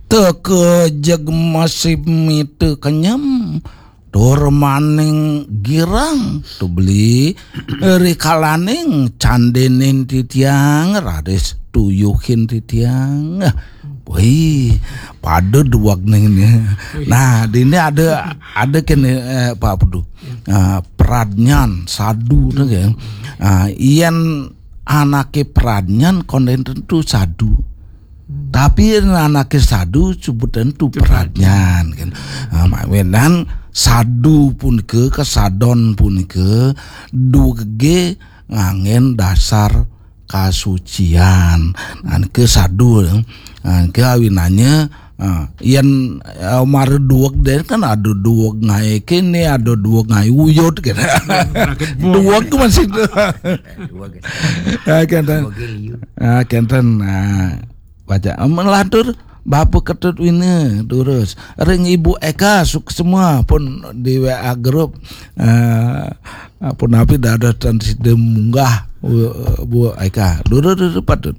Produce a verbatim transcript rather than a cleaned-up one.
Teka jeg masih mita kenyem, tur maning girang, tu beli rikalaning candenin titiang, raris tuyuhin titiang. Wih, pada duwag ning ni. Nah, dini ada, ada kene, eh, Pak Pudu. Ah, pradnyan, sadu tu ke. Ah, yen anake pradnyan konden tentu sadu. Tapi yen anake sadu sebut tentu pradnyan kan. Ah, mawinan sadu punika, kesadon punika duwege nganggen dasar kasucian. Nah, nika sadu. Nah, nika awinannya, ah, yen, eh, mara duweg den kan ada duweg ngae kene, ada duweg ngae uyut gitu. Duweg masih. Ah, kenten. Ah, kenten. Ah, baca. Melantur Bapak Ketut Wina, terus ring Ibu Eka Suksma pun di W A grup. Ah, pun api dados tan sida munggah, Bu, Bu Eka. Durus, durus, patut.